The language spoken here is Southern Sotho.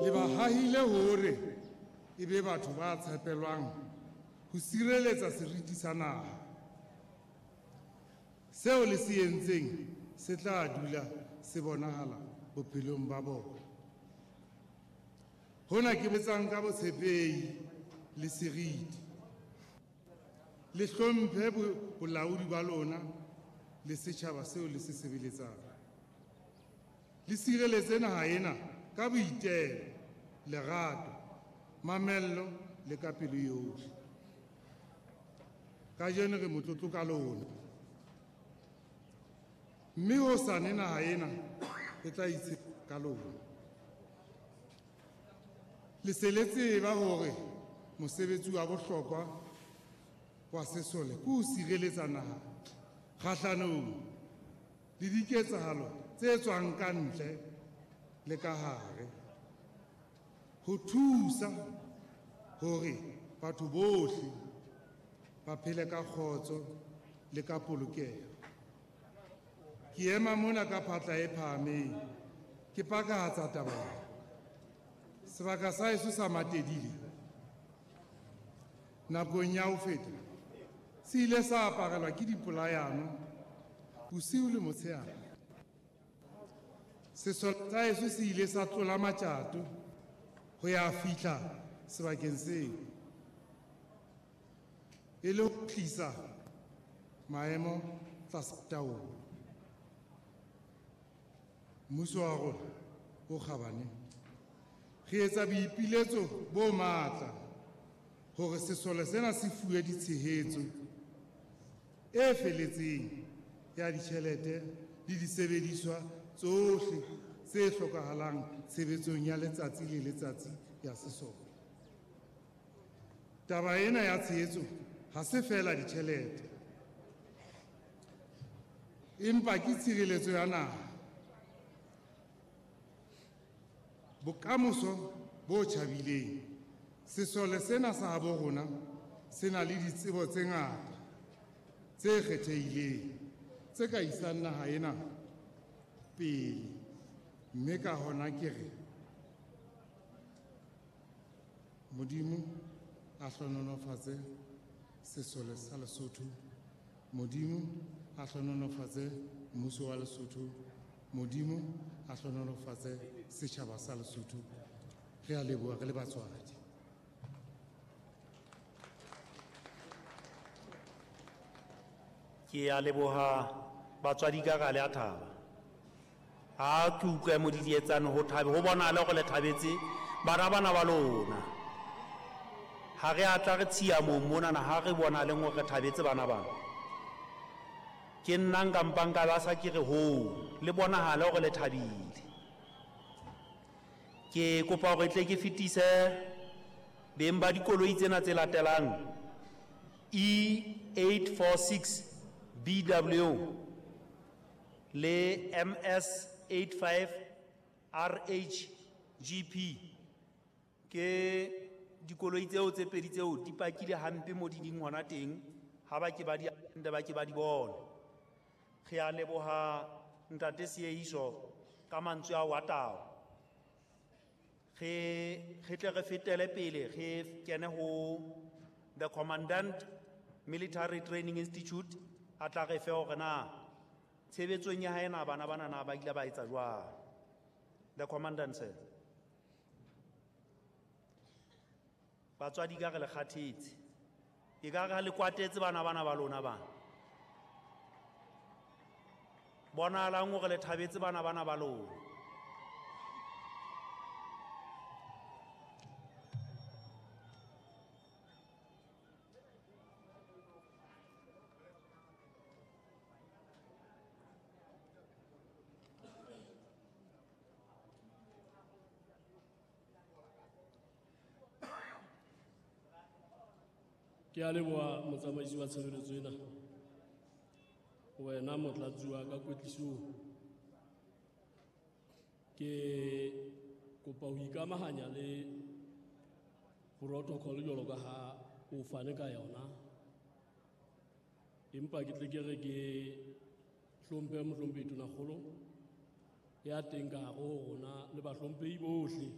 Le ba hahile hore e be batho ba tshepelwang ho sireletsa seriti sa naha. Seo le se entseng se tla dula se bonahala bophelong ba bona. Hona ke botsang ka botshepehi le seriti. Le hlomphe bolaodi ba lona le setjhaba seo le se sebeletsang. Le sireletse naha ena ka boitelo, lerato, mamello le ka pelo yohle. Kajeno re motlotlo ka lona. Mme hosane naha ena e tla itshepa ka lona. Le se le tseba hore mosebetsi wa bohlokwa wa sesole ke ho sireletsa naha kgahlanong le diketsahalo tse tswang ka ntle le ka hare, ho thusa hore batho bohle ba phele ka kgotso le ka polokeho. Ke ema mona ka phatla e phahameng, ke pakahatsa taba ena. Sebaka sa heso sa Matedile nakong ya ho feta se ile sa aparelwa ke dipolayano bosiu le motshehare. Sesole sa heso se ile sa tlola matjato ho ya fihla sebakeng seo e le ho tlisa maemo tlasa taolo. Mmuso wa rona o kgabane re etsa boipiletso bo matla hore sesole sena se fuwe ditshehetso e feletseng ya ditjhelete le disebediswa tsohle tse hlokahalang tshebetsong ya letsatsi le letsatsi ya sesole. Taba ena ya tshehetso ha se feela ditjhelete, empa ke tshireletso ya naha, bokamoso bo tjhabileng. Sesole sena sa habo rona se na le ditsebo tse ngata tse kgethehileng tse ka isang naha ena pele, mme ka hona ke re Modimo a hlohonolofatse sesole sa Lesotho, Modimo a hlohonolofatse mmuso wa Lesotho, Modimo a hlohonolofatse setjhaba sa Lesotho. Re a leboha re le batswadi. Ke a leboha batswadi ka ga le a thaba. Ha ke utlwe modidietsane ho thabe, ho bonahale hore le thabetse bana bana ba lona. Ha re a tla re tshiamong monana, ha re bonaleng hore re thabetse bana bana. Ke nna nka mpang ka ba sa ke re hoo, le bonahale hore le thabile. Ke kopa hore tle ke fetise beng ba dikoloi tsena tse latelang E846 BW le MS85 RHGP. Ke dikoloi tseo tse pedi tseo di pakile hampe mo di ding hona teng, ha ba ke ba di ande ba ke ba di bone. Re a leboha ntate Seeiso ka mantswe ao a tao. Re tle re fetele pele re kene ho the Commandant Military Training Institute a tla re fe hore na tshebetsong ya hae na bana bana na ba ile ba etsa jwang. The Commandant sir. Batswadi ka re le kgathetse. E ka re ha le kwatetse bana bana ba lona bana. Bonahalang hore le thabetse bana bana ba lona. Ke a leboha motsamaisi wa tshebeletso ena. Wena motlatsi wa ka kwetlisong. Ke kopa ho ikamahanya le protocol jwalo ka ha o fane ka yona. Empa ke tle ke re ke hlomphe mohlomphehi Tonakgolo ya teng ka hare ho rona le bahlomphehi bohle.